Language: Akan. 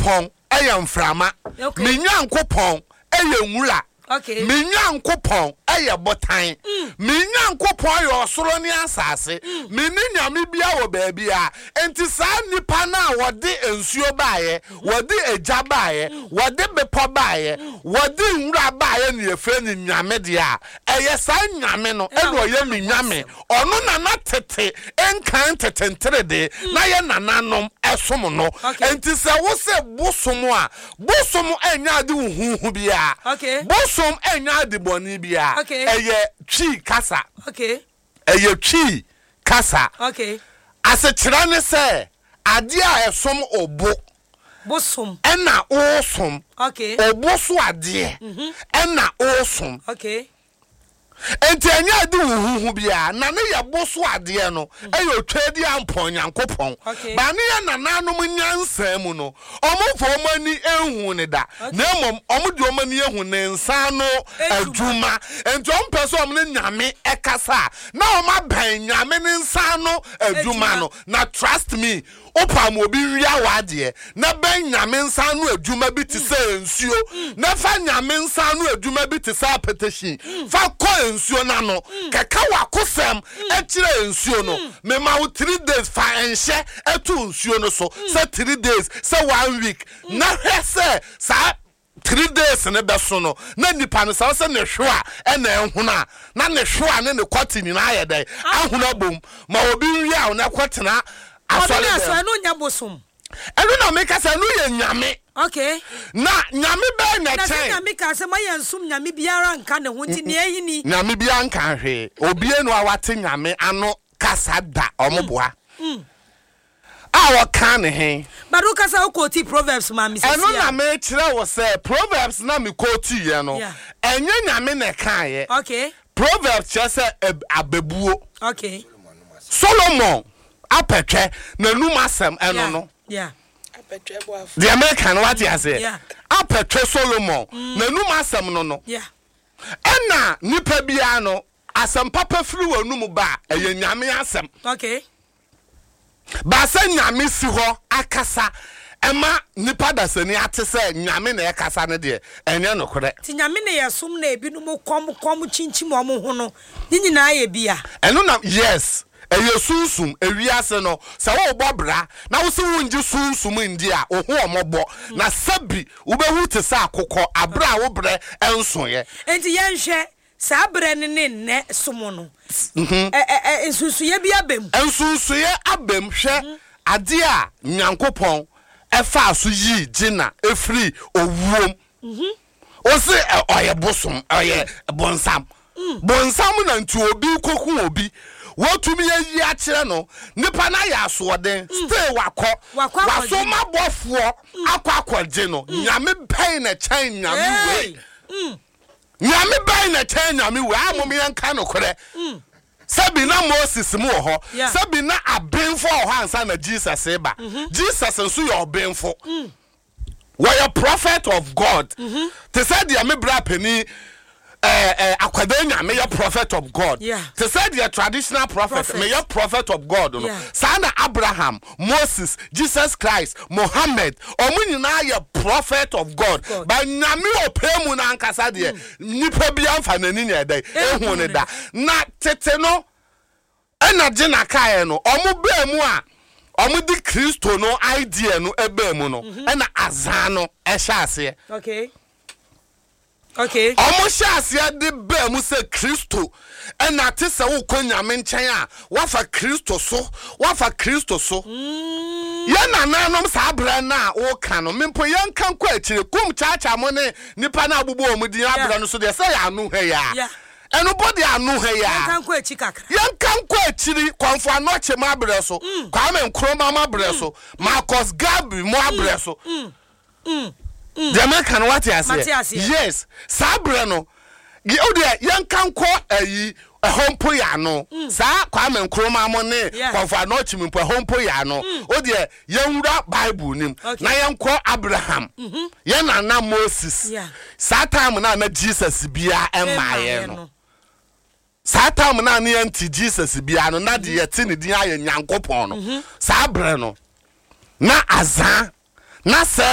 Nyankopɔn yɛ mframa. Me Nyankopɔn yɛ nwura. Me Nyankopɔn yɛ botan. Me Nyankopɔn yɛ ɔsoro ne asase. Menni nyame biara wɔ baabiara. Enti saa nnipa no a wɔde nsuo baeɛ, wɔde egya baeɛ, wɔde bepɔ baeɛ, wɔde nwura baeɛ na yɛfrɛ no nyame deɛ a, ɛyɛ saa nyame no na ɔyɛ me nyame. Ɔno na na tete nkan tete nteredee na yɛ nananom som no. Enti sɛ wose bosom a, bosom nyɛ ade huhuuhu biara. Bosom nyɛ ade bɔne biara. Ɛyɛ Twi kasa. Ɛyɛ Twi kasa. Asekyerɛ ne sɛ, adeɛ a ɛsom obo ɛna wosom. Obo so adeɛ ɛna wosom. Enti ɛnyɛ ade huhuuhu biara, na ne yɛ bo so adeɛ no yɛ Otwaadiampɔn Nyankopɔn. Ba ne yɛ nananom nyansa mu no, wɔmfa wɔn ani nhuu no da, na mmom wɔde wɔn ani ahu ne nsa ano adwuma. Enti wɔmpɛ sɛ wɔn ne Nyame kasa a, na wɔabɛn Nyame ne nsa ano adwuma no. Na trust me, Wopam obi wia w'adeɛ na bɛn Nyame nsa ano adwuma bi te sɛ nsuo na fa Nyame nsa ano adwuma bi te sɛ apɛtɛhyin fa kɔ nsuo no ano kɛka w'akosɛm kyerɛ nsuo no. Mema wo 3 days fa nhyɛ to nsuo no so sɛ 3 days sɛ one week na hwɛ sɛ saa 3 days ne bɛso no na nipa no sɛ sɛ ne hwewa ɛna ɛhono a na ne hwewa ne ne kɔte nyinaa yɛ dɛn ahono abom ma obi nwia wo na ɛkɔtena asɔre dɛm. Ɛno nyɛ bosom. Ɛno na meka sɛ ɛno yɛ Nyame. Na Nyame bɛɛ na Na sɛ kyɛn. Nyame ka sɛ mayɛ nsom nyame biara nka ne ho nti nea ɛyi ni. Nyame biara nka hwee. Obie no a wate Nyame ano kasa da ɔmo boa a ɔka ne he. But wo kasa wo quote Proverbs ma me sisi Ɛno a. na mekyerɛ wo sɛ Proverbs na me quote yɛ no ɛnyɛ Nyame na ɛkaeɛ. Proverbs kyerɛ sɛ abɛbuo. Solomon apɛtwɛ n'anum asɛm ɛno no. Deɛ meka no wate aseɛ? Apɛtwɛ Solomon n'anum asɛm no no. Ɛna nipa biara no asɛm papa firi w'anum ba a ɛyɛ Nyame asɛm. Baasɛ Nyame si hɔ akasa ɛma nipa dasani ate sɛ Nyame na ɛkasa no deɛ, ɛnyɛ nokorɛ. Nti Nyame na yɛsom na ebinom kɔm kɔm kyinkyim wɔn ho no ne nyinaa yɛ bi a? Ɛno na yes, ɛyɛ sunsum, ewiase no sɛ worebɔ bra na wose wongye sunsum ndi a wo ho ɔmɔbɔ na sɛbi wobɛwu te sɛ akokɔ aberɛ a wo berɛ nsoeɛ. Nti yɛnhwɛ saa berɛ no ne nnɛ som no, ɛ ɛ ɛ nsunsuiɛ bi aba mu. Nsunsuiɛ aba mu. Hwɛ adeɛ a Nyankopɔn faa so yii Gina firii owuom. Wose ɛ ɔyɛ bosom, ɔyɛ bonsam. Bonsam na nti obi rekɔku obi, watumi ayi akyerɛ no, nipa no ayɛ asoɔden, still wakɔ, Wakɔ akɔgye no. wasoma bɔfoɔ akɔ akɔgye no. Nyame bɛn na ɛkyɛn Nyame wei? Hey! Nyame bɛn na ɛkyɛn Nyame wei? A mom yɛnka nokorɛ. Sɛbi na Moses mu wɔ hɔ, sɛbi na abenfo wɔ hɔ ansa na Jesus reba. Jesus nso yɛ ɔbenfo. Wɔyɛ prophet of God. Te sɛ deɛ me bra panin ɛɛ ɛɛ Akwadaa Nyame yɛ prophet of God. Te sɛ deɛ traditional prophet meyɛ prophet of God no. Saa na Abraham, Moses, Jesus Christ, Mohammed, wɔn nyinaa yɛ prophet of God. But Nyame ɔpɛ mu no ankasa deɛ, nipa biara nfa n'ani nyɛ dɛn ehu no da. Na tete no ɛna gye na kaeɛ no, wɔn baa mu a wɔn de Kristo no idea no baa mu no, ɛna azan no ɛhyɛ aseɛ. Wɔn hyɛ aseɛ de baa mu sɛ Kristo ɛna te sɛ wokɔ Nyame nkyɛn a wafa Kristo so, wafa Kristo so. Yɛn nananom saa berɛ no a woka no, me mpo yɛnka nkɔ akyire, kum kyaakyaa mo ne nipa no a wobobɔ wɔn din aberɛ no so deɛ sɛ yɛ ano ha yi a. Ɛno mpo deɛ ano ha yi a. Yɛnka nkɔ akyi kakra. Yɛnka nkɔ akyiri, Kɔmfo Anɔkye mo aberɛ so, Kwame Nkrumah mo aberɛ so, Marcus Garvey mo aberɛ so. Deɛ meka no wate Mate aseɛ? aseɛ. Yes, saa berɛ no, wo deɛ yɛnka nkɔ ayi ɛhɔ mpo yɛ ano. Saa Kwame Nkrumah mo ne Kɔmfo Anɔkye mo mpo ɛhɔ mpo yɛ ano. Wo deɛ yɛnwura Bible no mu na yɛnkɔ Abraham, yɛn nana Moses. Saa time no a na Jesus biara mmaeɛ Ɛmmaeɛ no. no. Saa time no a na yɛnte Jesus biara no, na deɛ yɛte ne din ayɛ Nyankopɔn no. Saa berɛ no, na azaa, na sɛ.